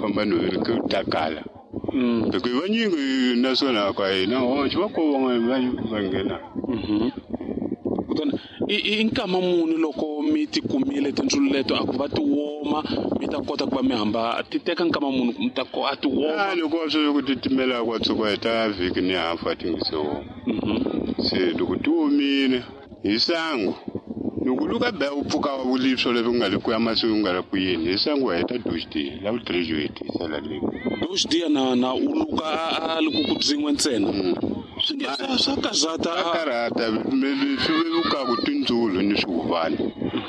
famba nhoveni ku ta kala. Loko hi vanyingi naswona ka hina hoxe va ko van'wana va nghena. Kutani i nkama muni loko mi ti kumile tindzulu leto a ku va ti woma mi ta kota ku va mi hamba ti teka nkama muni mi ta ko a ti woma? Loko swi ku titimela kwa tshuka hi ta vhiki ni hafu a ti nge se woma. Se loko ti omile hi sangu loko luka ba u pfuka vulipso leswi ku nga le ku ya mahlweni ku nga le ku yini hi sangu wa heta dox dia la vu-3 yo hetisela leyi dox dia na u luka a li ku ku byin'we ntsena. Swi nge swa karhata. Swa karhata swi vevukaku tindzulu ni swihuvani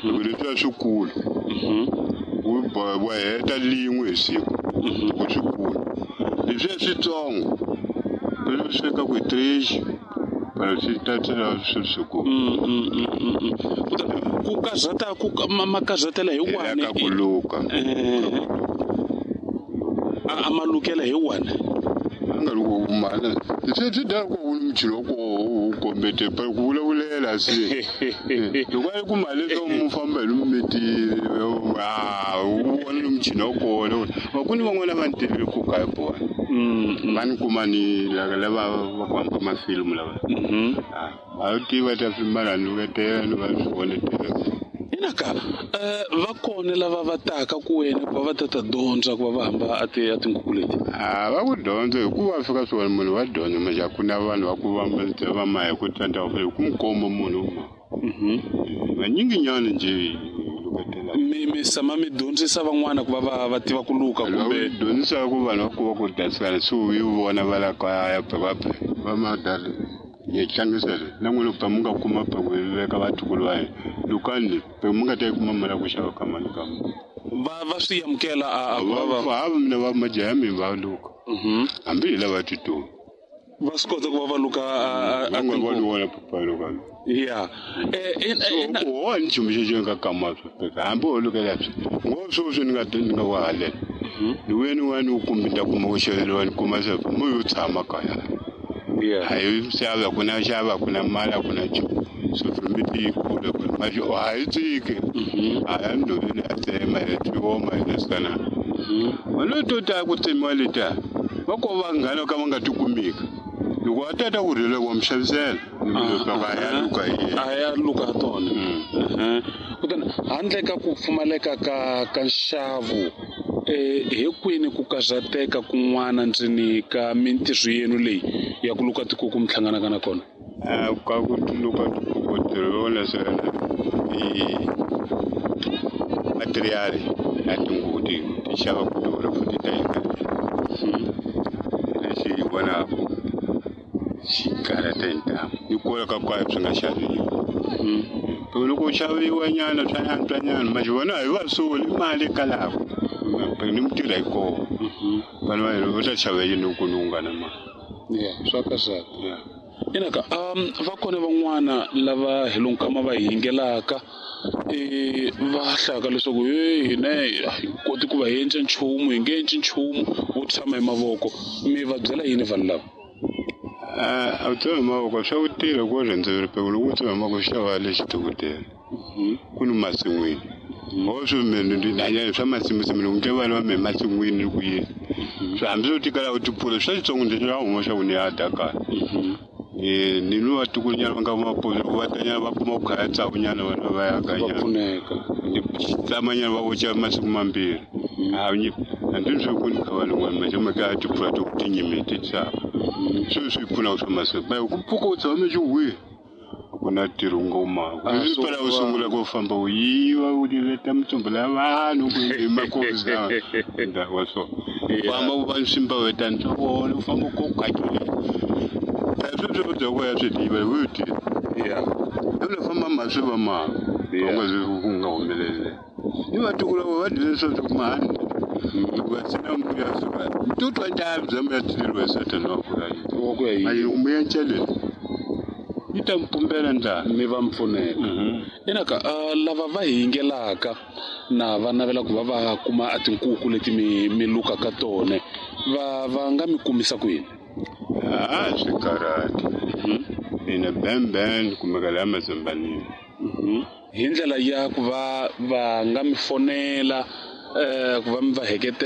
loko leswiya swikulu wa heta lin'we hi siku loko swikulu leswiya switsongo leswi swekaku hi 3 swi ta tlhela swi swikulu. Ku karhata ku makazatela hi wani ka ku luka a malukela hi wani a nga loko mana swi swi da ku muchini wa koho wu kombete ku vulavulela se loko a yi ku mali leswaku mu famba hi lomu u vona lomuchini wa kona va ku ni van'wana va ni tivile ku ka hi vona va ni kuma ni lava va ku hamba mafilimu lava a tiva ta mara ni luketela ni va swi vonetela. Inaka va kona lava va taka ku wena ku va va ta dyondza ku va va hamba a ti a tinkuku leti? A va ku dyondza hikuva fika swona munhu wa dyondza manje a ku na vanhu va ku va ma hi ku tsandza ku ku mu komba munhu ma vanyinginyana nje luketela. Mi sama mi dyondzisa van'wana ku va va tiva ku luka kumbe dyondzisa ku vanhu va ku va ku dasikana se u yi vona va la kaya va va madala hi tlangisa le na n'wina pa mi nga kuma pa ku veka vatukulu va hina lukani pa mi nga ta yi kuma mali ya ku xava ka mali ka va swi amukela a va mina va majaha mi va luka hambi hi lava titulu va swi kota ku va va luka a va va vona papa luka ya wa ni nchumu xexo nga kama swi hambi ho lukela swi ngo sweswi ni nga ni nga wa halela ni wena wa ni kumbe ta kuma ku xaveriwa ni kuma se mo yo tshama kaya. Hayi xava ku na xava ku na mali ku na nchumu so miti yi kula ku mali a yi tiki a ya ndoveni a tsema hi tioma hi nasikana wena to ta ku tsemiwa letiya va ko vanghana ka va nga ti kumiki loko a tata ku rhela wa mi xavisela a ya luka hi a ya luka tona. Kutani handle ka ku pfumaleka ka nxavo hi kwini ku karhateka kun'wana ndzeni ka mintirho yenu leyi ya ku luka tikuku mi hlanganaka na kona? Ka ku luka tikuku ntirho wona swona i material ya tinguvu ti xava ku durha futhi ta yika lexi hi vonaku xi karhata hi ntamu ni kula ka kwayo swi nga xaviwi. Loko u xaviwa nyana swa antswa nyana manje vona hi va soli mali kalako ni mi tirha hi kona vanhu va hina va ta xava yini ku ni u nga na mali. Swa karhata. Inaka va kona van'wana lava hi lonkama va yingelaka va hlaka leswaku hina hi koti ku va hi endla nchumu hi nge endli nchumu wo tshama hi mavoko mi va byela yini vanhu lava? A tshama hi mavoko swa ku tirha ku rhendzeveri peko loko u tshama hi mavoko xava lexi dokodela ku ni masin'wini ngo swi mina swa masimusimu loko nge vanhu va me masin'wini ku yini swi hambi swo tikala u tipfula swa xitsongo ndzi swa huma swa ku ni ya dya kaya ni ni vatukulunyana va nga mapozo loko va tanyana va kuma ku khaya tsavunyana vana va ya kanyana pfuneka ni tsamanyana va voxa masiku mambirhi hambi swi ku ni kha van'wana manje ma ka tipfula to tinyimi ti tshama swi swi pfuna swa masiku ba ku pfuka u tshama xi wihi ku na ntirho ngoma ku pela u sungula ku famba u yiva u leta mitsumbu la vanhu ku hi makosi la wa so famba u va simba weta ntswona u famba ku khatile sweswo swo dya ku ya swi tiva hi ti ya u famba maswi va ma u nga zwi ku nga humeleli ni vatukulu va dyile swo ku mani loko va sina mbuya suka tutwa njhani bya mbuya tileriwa satana wa ku ya wa ku ya yi mbuya ncheleni yi ta mpumbela ndlala mi va mpfuneka. Inaka lava va yingelaka na va navela ku va va kuma a tinkuku leti mi lukaka tona va nga mi kumisa ku yini? A swi karhati mina bemben kumeka laha mazambanini hi ndlela ya ku va va nga mi fonela ku va mi va heketela.